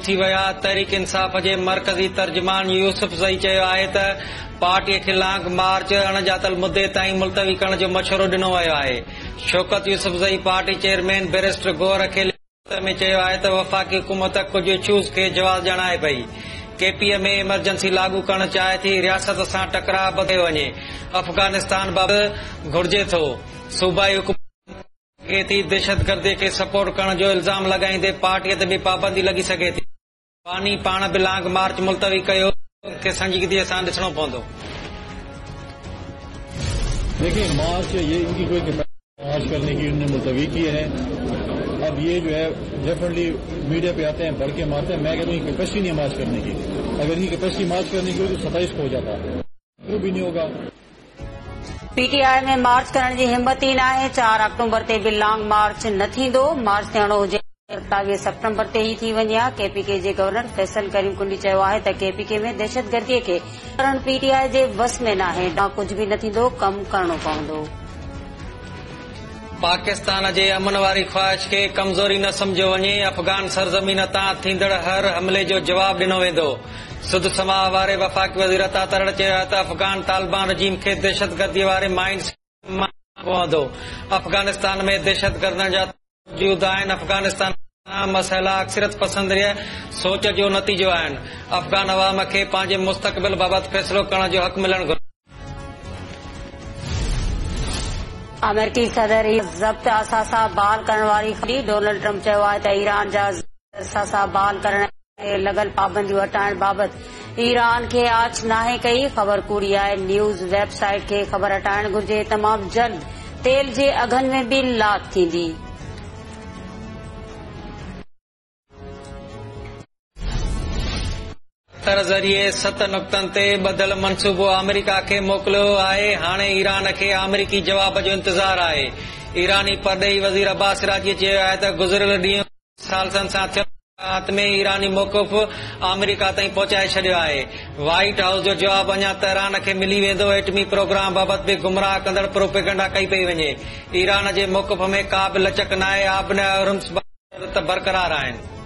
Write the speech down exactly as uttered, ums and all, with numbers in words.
ٿي ويا. تحريڪ انصاف جي مرڪزي ترجمان يوسف زئي چيو آهي ته پارٽيءَ کي لانگ مارچ اڻڄاتل مدي تائين ملتوي ڪرڻ جو مشورو ڏنو ويو آهي. Shaukat Yousafzai party chairman barrister Gohar کي لکت ۾ چيو آهي ته وفاقي حڪومت ڪجهه اشوز کي جواز ڄاڻائي پئي. ڪي پي ۾ ايمرجنسي لاڳو ڪرڻ چاهي ٿي، رياست سان ٽڪراء ٻڌيو وڃي. افغانستان بابت گهرجي ٿو. صوبائي حڪومت ٿي دهشتگردي کي سپورٽ ڪرڻ جو الزام لڳائيندي پارٽيءَ تي به پابندي لڳي سگهي ٿي. باني پاڻ به لانگ مارچ ملتوي ڪيو کي سنجيدگي سان ڏسڻو پوندو. देखिए मार्च ये इनकी कोई मार्च करने की उन्होंने मुलतवी किए हैं। अब ये जो है डेफिनेटली मीडिया पे आते हैं, भड़के मारते हैं। मैं कहता हूँ कैपेसिटी नहीं है मार्च करने की। अगर इनकी कैपेसिटी मार्च करने की होती तो सत्ताईस को हो जाता, वो भी नहीं होगा। पीटीआई में मार्च करण जी हिम्मत ई नाहे। चार अक्टूबर ते बि लॉन्ग मार्च न थींदो। मार्च थियणो हुजे सत्तावीह सेप्टेम्बर ते ई थी वञे हा। केपीके जे गवर्नर फैसल करीम कुंडी चयो आहे त केपीके में दहशतगर्दीअ खे करण पीटीआई जे वस में नाहे। कुझु बि न थींदो, कमु करणो पवंदो। पाकिस्तान जे अमन वारी ख्वाहिश खे कमज़ोरी न सम्झो वञे। अफ़गान सरज़मीन तां थींदड़ हर हमले जो जवाब ॾिनो वेंदो। सुध समाह वारे वफ़ाक़ी वज़ीर अता तरड़ चयो आहे त अफ़गान तालिबान रजीम खे दहशतगर्दीअ वारे माइंड पवंदो। अफ़गानिस्तान में दहशतगर्दनि जा मौजूद आहिनि। अफ़गानिस्तान मसइला अक्सरियत पसंद सोच जो नतीजो आहिनि। अफ़गान अवाम खे पंहिंजे मुस्तक़बिल बाबति फ़ैसिलो करण जो हक़ मिलणु घुरिजे। अमेरिकी सदर ज़ब्त असासा बहाल करण वारी ख़बरी। डोनाल्ड ट्रंप चयो आहे त ईरान जा असासा बहाल करण ते लॻल पाबंदियूं हटाइण बाबति ईरान खे आछ नाहे कई। ख़बर कूड़ी आहे। न्यूज़ वेबसाइट खे ख़बर हटाइण घुरिजे। तमामु जल्द तेल जे अघनि में बि लाथ थींदी। क़तर ज़रिए सत नुक़्तनि ते ॿधल मनसूबो आमेरिका खे मोकिलियो आहे। हाणे ईरान खे आमेरिकी जवाब जो इंतज़ार आहे। ईरानी परॾेही वज़ीर अब्बास राजी चयो आहे त गुज़िरियल ॾींहुं सालसनि सां थियल मुलाक़ात में ईरानी मौक़िफ़ आमेरिका ताईं पहुचाए छॾियो आहे। व्हाइट हाउस जो जवाब अञा तेहरान खे मिली वेंदो। एटमी प्रोग्राम बाबति बि गुमराह कंदड़ प्रोपेगेंडा कई पई वञे। ईरान जे मौक़िफ़ में का बि लचक न आहे। आबनाए हॉर्मुज़ बरक़रार आहिनि।